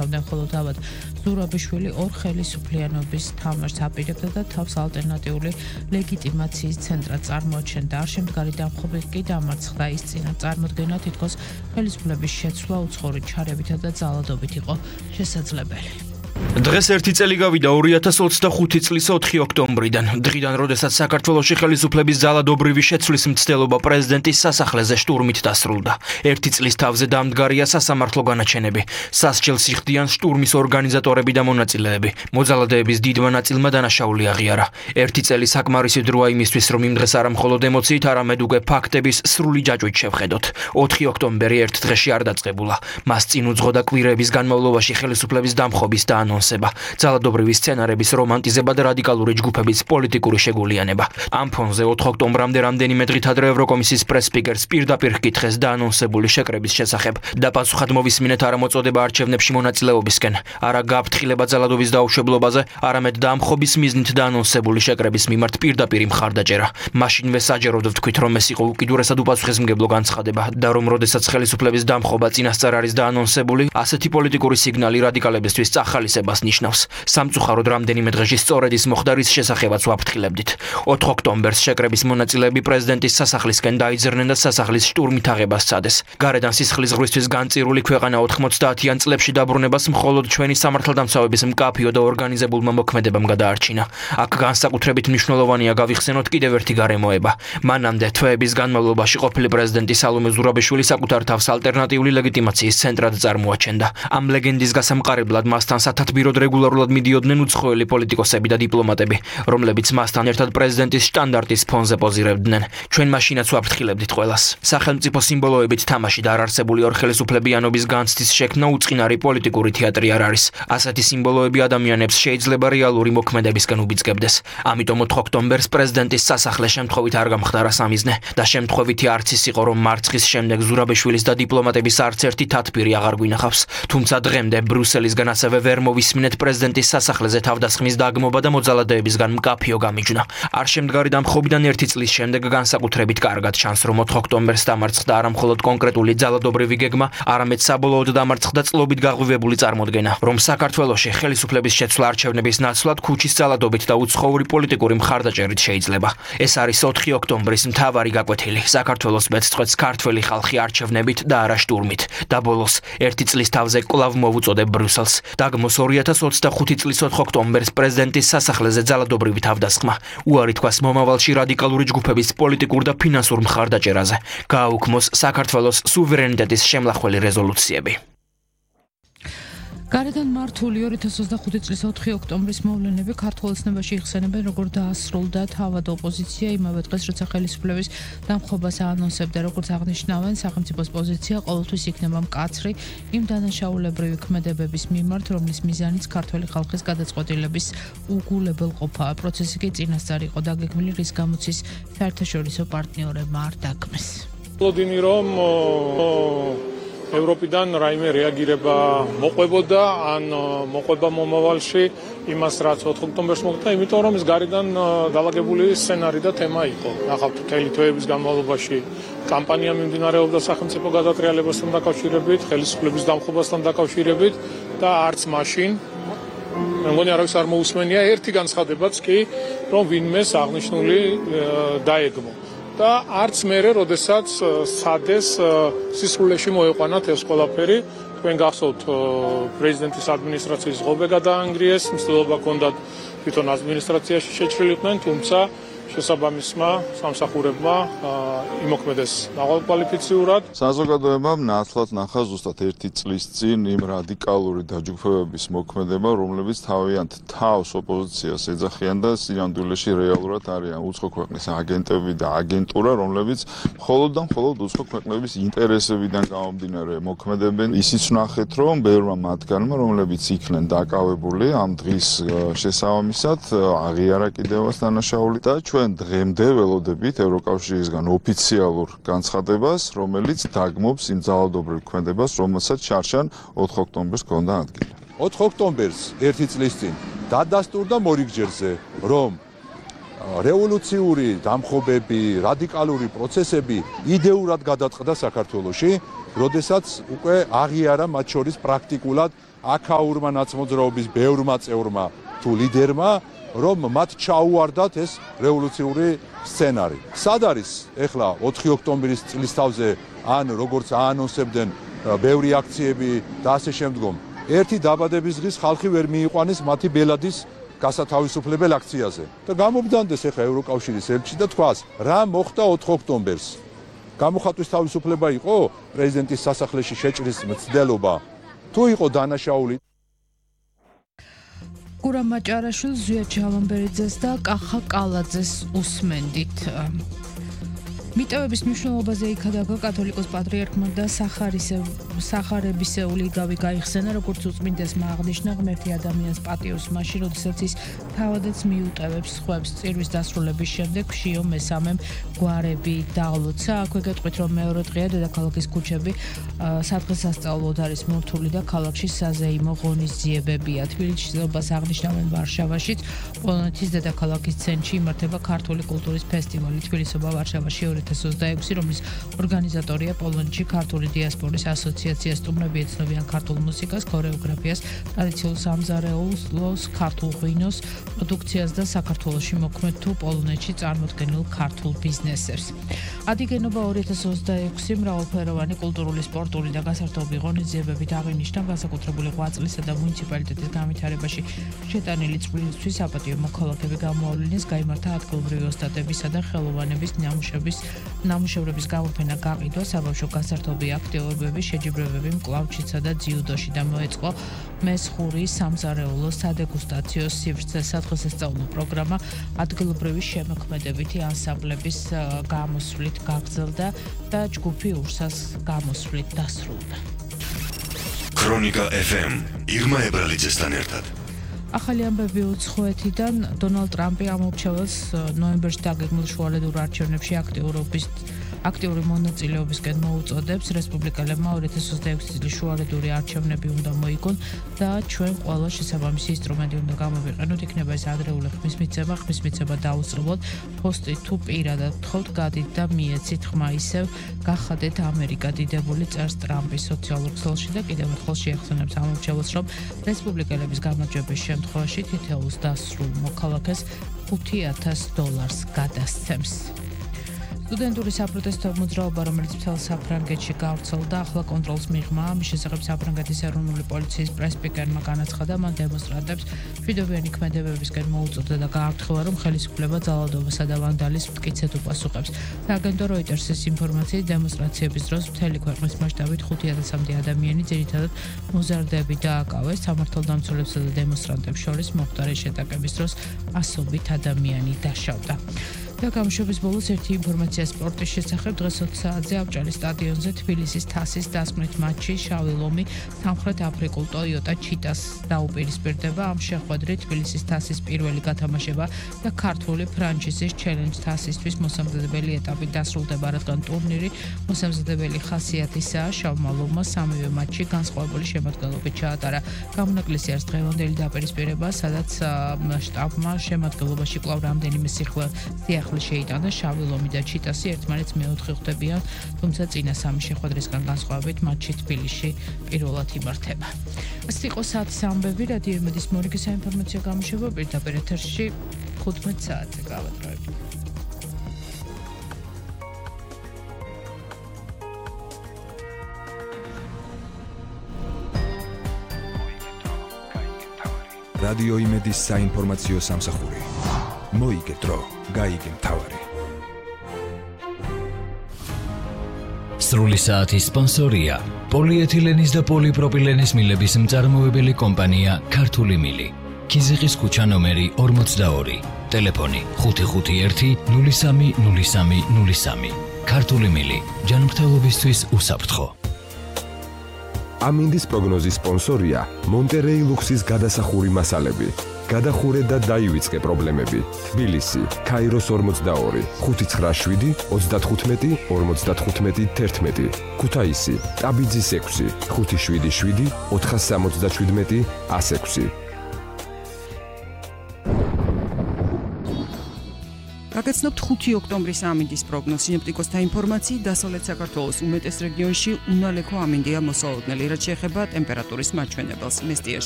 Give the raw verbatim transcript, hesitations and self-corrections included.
იყვნენ, ხოლო თავად ზურაბიშვილი ორ ხელისუფლიანობის თამაშს აპირებდა და თავს ალტერნატიული ლეგიტიმაციის ცენტრად წარმოაჩენდა. არ შემდგარი დამხობი კი დამარცხდა, ის წინა წარმოდგენა თითქოს ხელისუფლების შეცვლა უცხოური ჩარევითა და ძალადობით იყო შესაძლებელი. დღეს ერთი წელი გავიდა ორი ათას ოცდახუთი წლის ოთხი ოქტომბრიდან, დღიდან, როდესაც საქართველოში ხელისუფლების ძალადობრივი შეცვლის მცდელობა პრეზიდენტის სასახლეზე შტურმით დასრულდა. ერთი წლის თავზე დამდგარია სასამართლო განაჩენები. სასჯელს იხდიან შტურმის ორგანიზატორები და მონაწილეები. მოძალადეების დიდმა ნაწილმა დანაშაული აღიარა. ერთი წელი საკმარისი დროა იმისთვის, რომ იმ დღეს არა მხოლოდ ემოციით, არამედ უკვე ფაქტების სრული ჯაჭვით შევხედოთ. ოთხი ოქტომბერი ერთ დღეში არ დაწყებულა. მას წინ უძღოდა კვირების განმავლობაში ხელისუფლების დამხობის და ანონსება, ძალადობრივი სცენარების რომანტიზება და რადიკალური ჯგუფების პოლიტიკური შეგულიანება. ამ ფონზე ოთხ ოქტომბრამდე რამდენიმე დღით ადრე ევროკომისიის პრეს-სპიკერს პირდაპირ ჰკითხეს დაანონსებული შეკრების შესახებ და პასუხად მოვისმინეთ არა მოწოდება არჩევნებში მონაწილეობისკენ, არა გაფრთხილება ძალადობის დაუშვებლობაზე, არამედ დამხობის მიზნით დაანონსებული შეკრების მიმართ პირდაპირი მხარდაჭერა. მაშინვე საჯაროდ ვთქვით, რომ ეს იყო უკიდურესად უპასუხისმგებლო განცხადება და რომ როდესაც ხელისუფლების დამხობა წინასწარ არის დაანონსებული, ასეთი პოლიტიკური სიგნალი რადიკალებისთვის წახალისებას ნიშნავს. სამწუხაროდ რამდენიმე დღეში სწორედ ის მოხდა, რის შესახებაც ვაფრთხილებდით. ოთხ ოქტომბერს შეკრების მონაწილეები პრეზიდენტის სასახლისკენ დაიძრნენ და სასახლის შტურმით აღებას სცადეს. გარედან სისხლის ღვრისთვის განწირული ქვეყანა ოთხმოცდაათიან წლებში დაბრუნებას მხოლოდ ჩვენი სამართალდამცავების მკაფიო და ორგანიზებულმა მოქმედებამ გადაარჩინა. აქ განსაკუთრებით მნიშვნელოვანია გავიხსენოთ კიდევ ერთი გარემოება. მანამდე თვეების განმავლობაში ყოფილი პრეზიდენტი სალომე ზურაბიშვილი საკუთარ თავს ალტერნატიული ლეგიტიმაციის ცენტრად წარმოაჩენდა. ამ ლეგენდის გასამყარებლად მასთან სათათბიროდ რეგულარულად მიდიოდნენ უცხოელი პოლიტიკოსები და დიპლომატები, რომლებიც მასთან ერთად პრეზიდენტის შტანდარტის ფონზე პოზირებდნენ. ჩვენ მაშინაც ვაფრთხილებდით ყველას. სახელმწიფო სიმბოლოებით თამაში და არარსებული ორ ხელისუფლებიანობის განცდის შექმნა უწყინარი პოლიტიკური თეატრი არ არის. ასეთი სიმბოლოები ადამიანებს შეიძლება რეალური მოქმედებისკენ უბიძგებდეს. ამიტომ ოთხ ოქტომბერს პრეზიდენტის სასახლე შემთხვევით არ გამხდარა სამიზნე და შემთხვევითი არც ის იყო, რომ მარცხის შემდეგ ზურაბიშვილის და დიპლომატების არც ერთი თათბირი აღარ გვინახავს. თუმცა დღემდე ბრუსელისგან ასევე ვერ მოვისმინეთ პრეზიდენტის სასახლეზე თავდასხმის დაგმობა და მოძალადეებისგან მკაფიო გამიჯვნა. არ შემდგარი დამხობიდან ერთი წლის შემდეგ განსაკუთრებით კარგად ჩანს, რომ ოთხ ოქტომბერს დამარცხდა არა მხოლოდ კონკრეტული ძალადობრივი გეგმა, არამედ საბოლოოდ დამარცხდა წლობით გაღვივებული წარმოდგენა, რომ საქართველოში ხელისუფლების შეცვლა არჩევნების ნაცვლად ქუჩის ძალადობით და უცხოური პოლიტიკური მხარდაჭერით შეიძლება. ეს არის ოთხი ოქტომბრის მთავარი გაკვეთილი. საქართველოს მეცხრეც ქართველი ხალხი არჩევნებით და არა შტურმით. და ბოლოს ერთი წლის თავზე კვლავ მოვუწოდებ ბრუსელს. დაგმოს ორი ათას ოცდახუთი წლის ოთხ ოქტომბერს პრეზიდენტის სასახლეზე ძალადობრივი თავდასხმა. უარი თქვას მომავალში რადიკალური ჯგუფების პოლიტიკურ და ფინანსურ მხარდაჭერაზე. გააუქმოს საქართველოს სუვერენიტეტის შემლახველი რეზოლუციები. გარედან მართული ორი ათას ოცდახუთი წლის ოთხი ოქტომბრის მოვლენები ქართულ ოცნებაში იხსენებენ, როგორც დაასრულდა თავად ოპოზიცია იმავე დღეს, როცა ხელისუფლების დამხობას აანონსებდა, როგორც აღნიშნავენ, სახელმწიფოს პოზიცია ყოველთვის იქნება მკაცრი იმ დანაშაულებრივი ქმედებების მიმართ, რომლის მიზანიც ქართველი ხალხის გადაწყვეტილების უგულებელყოფაა. პროცესი კი წინასწარ იყო დაგეგმილი, რის გამოც ის საერთაშორისო პარტნიორებმა არ დაგმეს. ლოდინი რომ ევროპიდან რაიმე რეაგირება მოყვებოდა ან მოყვება მომავალში იმას რაც ოთხ ოქტომბერს მოხდა, იმიტომ რომ ის გარედან დალაგებული სცენარი და თემა იყო. ნახავთ, მთელი თვეების განმავლობაში კამპანია მიმდინარეობდა სახელმწიფო გადატრიალებასთან დაკავშირებით, ხელისუფლების დამხობასთან დაკავშირებით და არც მაშინ მე მგონი არავის არ მოусმენია ერთი განცხადებაც კი, რომ ვინმეს აღნიშნული დაეგმო. და არც მერე, როდესაც სადეს სისხლში მოეყვანათ ეს ყველაფერი, თქვენ გახსოვთ პრეზიდენტის ადმინისტრაციის ღობე გადაანგრიეს, მცდელობა ჰქონდათ თვითონ ადმინისტრაციაში შეჭრილიყვნენ, თუმცა შესაბამისმა სამსახურებმა იმოქმედეს მაღალკვალიფიციურად. საზოგადოებამ ნაცვლად ნახა ზუსტად ერთი წლის წინ იმ რადიკალური დაჯგუფებების მოქმედება, რომლებიც თავიანთ თავს ოპოზიციას ეძახიან და სინამდვილეში რეალურად არიან უცხო ქვეყნის აგენტები და აგენტურა, რომლებიც მხოლოდ და მხოლოდ უცხო ქვეყნების ინტერესებიდან გამომდინარე მოქმედებენ. ისიც ვნახეთ, რომ ბევრმა მათგანმა, რომლებიც იქნენ დაკავებული ამ დღის შესაბამისად, აღიარა კიდევაც დანაშაული და ჩვენ დღემდე ველოდებით ევროკავშირისგან ოფიციალურ განცხადებას, რომელიც დაგმობს იმ ძალადობრივ ქმედებას, რომელსაც შარშან ოთხ ოქტომბერს ჰქონდა ადგილი. ოთხ ოქტომბერს ერთი წლის წინ დადასტურდა მორიგჯერზე, რომ რევოლუციური დამხობები, რადიკალური პროცესები იდეურად გადაწყდა საქართველოში, როდესაც უკვე აღიარა მათ შორის პრაქტიკულად აქაურმა ნაცმოძრაობის ბევრმა წევრმა თუ ლიდერმა, რომ მათ ჩაუვარდათ ეს რევოლუციური სცენარი. სად არის ეხლა ოთხი ოქტომბრის წლისთავზე ან როგორც აანონსებდნენ ბევრი აქციები და ასე შემდგომ, ერთი დაბადების დღის ხალხი ვერ მიიყვანეს მათი ბელადის გასათავისუფლებელ აქციაზე და გამობდანდეს ეხლა ევროკავშირის ელჩი და თქვას, რა მოხდა ოთხ ოქტომბერს. გამოხატვის თავისუფლება იყო პრეზიდენტის სასახლეში შეჭრის მცდელობა, თუ იყო დანაშაული. გურამ მაჭარაშვილს, ზვია ჯალამბერიძეს და კახა კალაძეს უსმენდით. მიტევების მნიშვნელობაზე იქადაგა კათოლიკოს პატრიარქმა და სახარებისეული იგავი გაიხსენა, როგორც უწმინდესმა აღნიშნა, ღმერთი ადამიანს პატიოს მაშინ, როდესაც ის თავადაც მიუტევებს სხვებს. წირვის დასრულების შემდეგ შიო მესამემ გვარები დაღლოცა. აქვე გეტყვით, რომ მეორე დღეა დედაქალაქის ქუჩები სადღესასწაულოდ არის მორთული და ქალაქში საზეიმო ღონისძიებებია. თბილისში ზეობას აღნიშნავენ ვარშავაშიც. პოლონეთის დედაქალაქის ცენტრში იმართება ქართული კულტურის ფესტივალი თბილისობა ვარშავაში ორი ათას ოცდაექვსი, რომლის ორგანიზატორია პოლონეთში ქართული დიასპორის ასოციაცია. სტუმრები ეცნობიან ქართულ მუსიკას, ქორეოგრაფიას, ტრადიციულ სამზარეულოს, ქართულ ღვინოს, პროდუქციას და საქართველოში მოქმედ თუ პოლონეთში წარმოდგენილ ქართულ ბიზნესებს. ადიგენობა ორი ათას ოცდაექვსი მრავალფეროვანი კულტურული, სპორტული და გასართობი ღონისძიებებით აღინიშნა განსაკუთრებული ღვაწლისა და მუნიციპალიტეტის განვითარებაში შეტანილი წყვილისთვის საპატიო მოქალაქეები გამოავლინეს, გაიმართა ადგილობრივი ოსტატებისა და ხელოვანების ნამუშევრების ნამუშევრების გამოფენა გაყიდვა, საბავშვო გასართობი აქტივობები, შეჯიბრებები მკლავჩისა და ძიუდოში და მოეწყო მესხური სამზარეულო სადეგუსტაციო სივრცე. სადღესასწაულო პროგრამა ადგილობრივი შემოქმედებითი ანსამბლების გამოსვლით გაგრძელდა და ჯგუფი ურსას გამოსვლით დასრულდა. ქრონიკა ეფ ემ ირმა ებრალიძესთან ერთად. ახალი ამბები უცხოეთიდან. დონალდ ტრამპი ამორჩეველს ნოემბერში დაგეგმილ შუალედურ არჩევნებში აქტიურობის აქტიური მონაწილეობისკენ მოუწოდებს. რესპუბლიკელებმა ორი ათას ოცდაექვსი წლის შუალედური არჩევნები უნდა მოიგონ და ჩვენ ყველა შესაბამისი ინსტრუმენტი უნდა გამოვიყენოთ. იქნება ეს ადრეული ხმის მიცემა, ხმის მიცემა დაუსრულოთ. პოსტი თუ პირადად გთხოვთ, გადით და მიეცით ხმა, ისევ გახადეთ ამერიკა დიდებული, წერს ტრამპის სოციალურ ქსელში და კიდევ ერთხელ შეეხსენებს ამორჩეველს, რომ რესპუბლიკელების გამარჯვების შემთხვევაში თითოეულს დასრულ მოქალაქეს ხუთი ათას დოლარს გადასცემს. სტუდენტური საპროტესტო მოძრაობა, რომელიც მთელ საფრანგეთში გავრცელდა, ახლა კონტროლს მიიღმა. ამის შესახებ საფრანგეთის ეროვნული პოლიციის პრეს-სპიკერმა განაცხადა, მან დემონსტრანტებს მშვიდობიანი ქმედებებისკენ მოუწოდა და გააფრთხილა, რომ ხელისუფლება ძალადობასა და ვანდალიზმს მტკიცედ უპასუხებს. სააგენტო როიტერსის ინფორმაციით, დემონსტრაციების დროს მთელი ქვეყნის მასშტაბით ხუთი ათასამდე ადამიანი, ძირითადად მოზარდები დააკავეს. სამართალდამცველებსა და დემონსტრანტებს შორის მომხდარი შეტაკების დროს ასობით ადამიანი დაშავდა. და გამოშვების ბოლოს ერთი ინფორმაცია სპორტის შესახებ. დღეს ოც საათზე ავჭალის სტადიონზე თბილისის თასის დასკვნით მატჩი შავი ლომი სამხრეთ აფრიკულ ტოიოტა ჩიტას დაუპირისპირდება. ამ შეხვედრით თბილისის თასის პირველი გათამაშება და ქართული ფრანჩიზის ჩელენჯ თასისთვის მოსამზადებელი ეტაპი დასრულდება, რადგან ტურნირი მოსამზადებელი ხასიათისაა. შავმა ლომმა სამივე მატჩი განსხვავებული შემადგენლობით ჩაატარა. გამონაკლისი არის დღევანდელი დაპირისპირება, სადაც შტაბმა შემადგენლობაში კვლავ რამდენიმე სიხლე შეიტანა. შავი ლომი და ჩიტასი ერთმანეთს მეოთხე ხვდებიან, თუმცა წინა სამი შეხვედრისგან განსხვავებით მატჩი თბილისში პირველად იმართება. ეს იყო საათის ამბები. რადიო იმედის მორიგი საინფორმაციო გამოშვება პირდაპირ ეთერში ხუთმეტ საათზე გავატარებთ. რადიო იმედის საინფორმაციო სამსახური. მოიგეთ დრო, გაიგე მთავარი. სრული საათის სპონსორია პოლიეთილენის და პოლიპროპილენის მილების მწარმოებელი კომპანია ქართული მილი. ქიზიყის ქუჩა ნომერი ორმოცდაორი. ტელეფონი ხუთი ხუთი ერთი ნული სამი ნული სამი ნული სამი. ქართული მილი, ჯანმრთელობისთვის უსაფრთხო. ამინდის პროგნოზის სპონსორია მონტერეი ლუქსის გადასახური მასალები. გადახურე და დაივიწყე პრობლემები. თბილისი, ქაიროს ორმოცდაორი, ხუთი ცხრა შვიდი ოცდათხუთმეტი ორმოცდათხუთმეტი თერთმეტი. ქუთაისი, ტაბიძის ექვსი, ხუთი შვიდი შვიდი ოთხას სამოცდაშვიდმეტი ასექვსი. გაგაცნობთ ხუთი ოქტომბრის ამინდის პროგნოზ. სინოპტიკოსთა ინფორმაციით, დასავლეთ საქართველოს უმეტეს რეგიონში უნალექო ამინდია მოსალოდნელი, რაც შეეხება ტემპერატურის მაჩვენებელს. მესტიაში